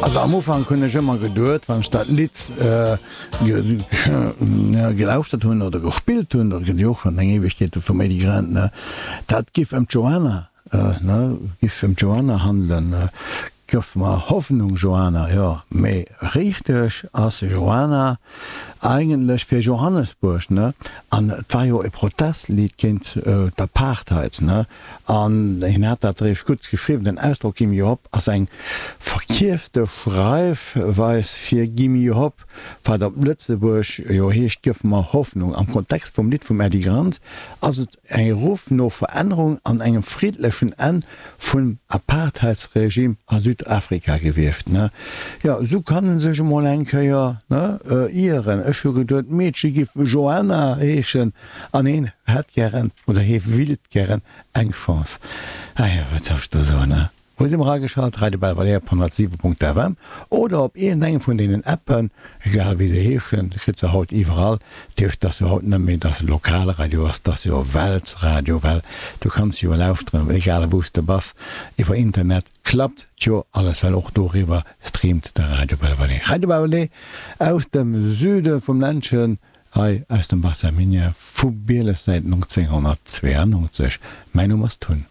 Also am Ufank hunn ech ëmmer geduet, wann ech dat Lidd gelauschtert hunn oder gespillt hunn, dat gëtt jo och schonn eng Éiwegkeet vum Edy Grant, ne, dat giff ëm d'Joanna, ne, giff ëm d'Joanna handelen, Gëff mer Hoffnung, Joanna, jo, mee richteg ass Joanna eigentlech fir Johannesburg, ne, an et war jo e Protestlidd géint d'Apartheid, ne. An hien hat dat eréischt gutt geschriwwen, Den Ausdrock Gimme Hop ass eng verkierfte Schreifweis fir Gimme Hop, wat op Lëtzebuerg jo heescht Gëff mer Hoffnung. Am Kontext vum Lidd vum Eddy Grant ass et e Ruff no Verännerung an engem friddlechen Enn vum Apartheidsregime a Südafrika gewiescht. Jo, esou kann en sech emol eng Kéier ieren. Ech hu geduet, d'Meedche giff Joanna heeschen. An heen hätt gären, oder hee willt gären eng Chance. Ah jo, wat soll ech do soen, ne? Wou si mer ageschalt? Radio Belvalère op 107.fm oder op iergendengem vun deenen Appen, egal wéi se heeschen, kritt se haut iwwerall. Dat heescht, et ass jo haut net méi, dass et Lokalradio ass, et ass jo Weltradio, well du kanns jo lauschteren, egal wou s de bass, iwwer Internet klappt jo alles, well och doriwwer streamt de Radio Belvalère. Radio Belvalère aus dem Süde vum Ländchen, Hei aus dem Bassin Minier vu Bieles säit 1992. Mäin Numm ass Tun.